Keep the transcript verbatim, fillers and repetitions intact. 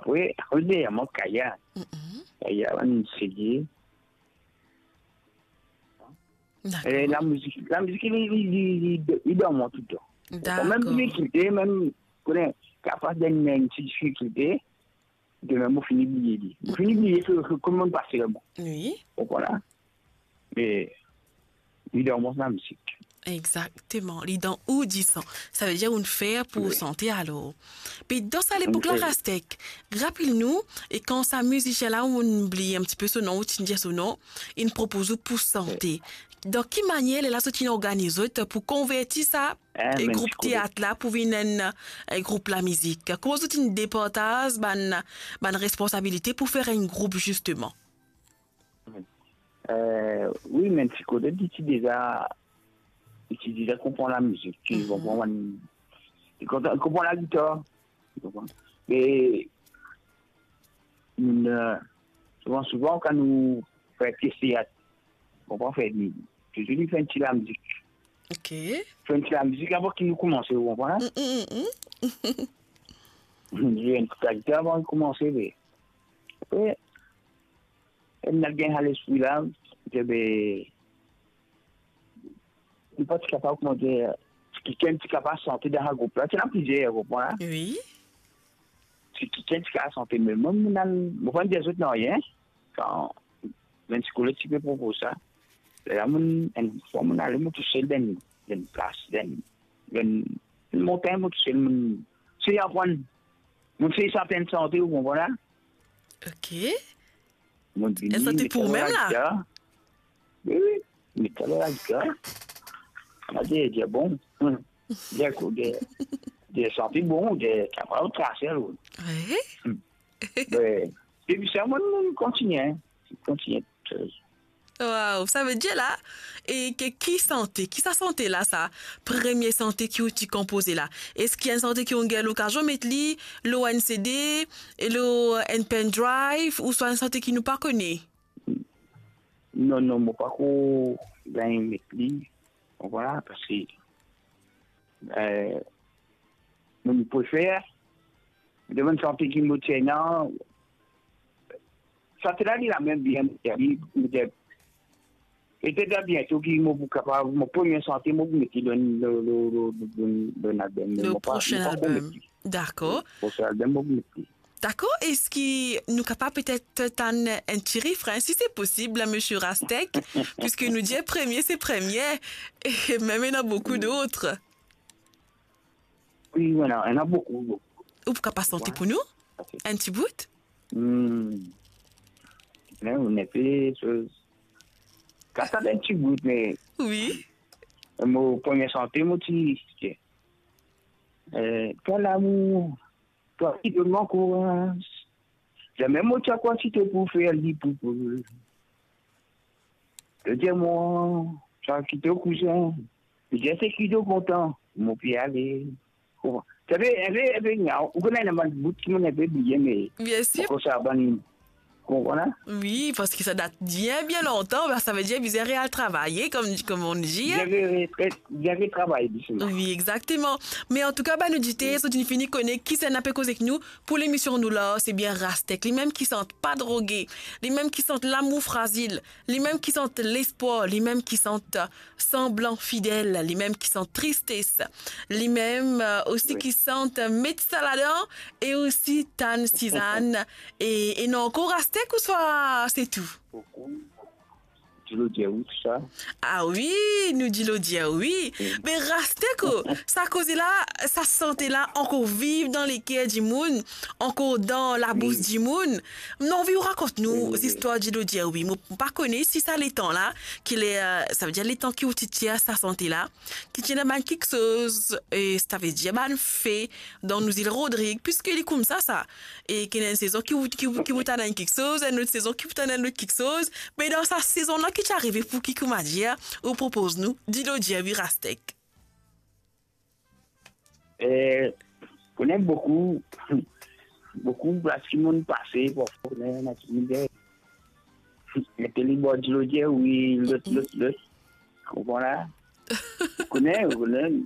Wi, wi, deryer mwa, Kaya. Mm-mm. Kaya, bann sege. Dakor. E, lamizik, lamizik, li, li, li, li, li dan mwa toutan. Dakor. Mem difikilte, mem, kone, kapav dan enn ti difikilte, demin mo fini bliye li. Mo fini bliye ki, ki, kouma mo pase la, bon. Wi. Ou konpran la? Me, li dan mo lamizik. Exactement. Li dan ou disan. Savedir ou fer pou sante alor. Pe dan sa lepok la, Rastek, rapel nou, e kan sa mizisien la, ou bliye enn tipe so nom, ou ti dir so nom, inn propoz ou pou sante. Dan ki manier lerla zot inn organiz zot pou konverti sa, e, group teat la pou vinn enn, e, group lamizik? Kouma zot inn departaz bann, bann responsabilite pou fer enn group, zisteman? Eh, wi, me ti kote li ti deza, li ti deza konpran lamizik, li konpran bann, li konpran, konpran lagitar, li konpran. Me nou, eh, souvan, souvan, kan nou fer pies teat, konpran, fer li, touzour li fer enn ti lamizik. Ok. Fer enn ti lamizik avan ki nou koumanse, ou konpran la? Mm, mm, mm, mm. Li fer enn ti lagitar avan nou koumanse, me apre, ena gagn sa lespri la, ki be, nou pa ti kapav, kouma dir, kikenn ti kapav sante dan sa group la. Ti ena plizier, ou konpran la? Wi. Si kikenn ti kapav sante, me mwa, mo al, mo pa dir zot nanye. Kan bann psikolog ti pe propoz sa, lerla mo, enn fwa mo ale mo tousel dan, dan plas, dan, dan montagn, mo tousel, mo sey aprann, mo sey sante enn sante, ou konpran la? Ok. Mo vini, enn sante pou ou mem la? Gitar. Wi, wi. Met sa lor lagitar. Mo dir, dir, bon, hmm, dir, dir, dir, santi bon, dir, kapav trase, alor. Wi. Hmm. Be, depi sa, mo, mo kontigne, kontigne. Waw, savedir la, e ki, ki sante, ki sa sante la, sa premie sante ki ou ti konpoze la? Eski enn sante ki ou gagn lokazion met li lor enn C D, lor enn pen drive, ouswa enn sante ki nou pa kone? Non, non, mo pako gagn met li, ou konpran, parski, eh, mo, mo prefer, mo demann sante ki mo ti ena, sante la, li la mem bien, li, li, petet a biento ki mo pou kapav, mo premie sante, mo pou met li dan, dan, dan, dan, dan, dan album, mo pa, mo pako met li. Dakor. Prosin album, mo pou met li. Dakor, eski nou kapav petet tann enn ti refren, si se posib, misie Rastek, piski nou dir premie se premie, e mem ena boukou dot. Wi, ena, ena boukou, boukou. Ou pou kapav sante pou nou? Ok. Enn ti bout? Hmm. Me, ou ena pe soz. Kapav enn ti bout, me... Wi. Mo premie sante, mo ti, eh, ton lamour, twa ki donn mwa kouraz. Zame mo ti krwar ti to pou fer li pou, pou. To dir mwa, twa ki to kouzin. Li dir seki to kontan, mo pe ale. Konpran? Sa pe, enpe, enpe, ou konn ena bann bout ki mo enpe bliye, me... Bien sir. Akoz sa bann Ou konpran la? Wi, parski sa dat bien, bien lontan, be, savedir bizin real travay, comme, comme on dit, hein. Bien re-, re-, re-, bien retravay, zisteman. Wi, exakteman. Me antouka, bann oditer, zot inn fini kone kisannla pe koz ek nou pou lemision nou la, se bien Rastek. Limem ki sant Pa Droge, limem ki sant Lamour Frazil, limem ki sant Lespwar, limem ki sant Sanblan Fidel, limem ki sant Tristes, limem, euh, osi ki sant Met Sa Ladan, e osi tann Sizann, e, e ena ankor Rastek ouswa se tou? Dilo dir wi, tou sa. Ah wi, nou dilo dir wi. Mm. Me Rastek, oh, sa koze la, sa sante la ankor viv dan leker dimoun, ankor dan labous dimoun. Wi. Mo anvi ou rakont nou zistwar dilo dir wi. Mo pa kone si sa letan la, ki le, euh, savedir letan ki ou ti tir sa sante la, ki ti ena bann kiksoz, e savedir bann fe dan nou zil Rodrig, piski li koumsa sa. E ki ena enn sezon ki ou, ki ou, ki ou tann enn kiksoz, enn lot sezon ki ou tann enn lot kiksoz. Me dan sa sezon la ki ti arive pou ki, koumadir, ou propoz nou dilo dir wi Rastek? Eh, kone boukou, boukou plas ki monn pase, parfwa kone ena ti mizè. Mete li bwar dilo dir wi, lot, lot, lot. Konpran la? Ou kone, ou kone,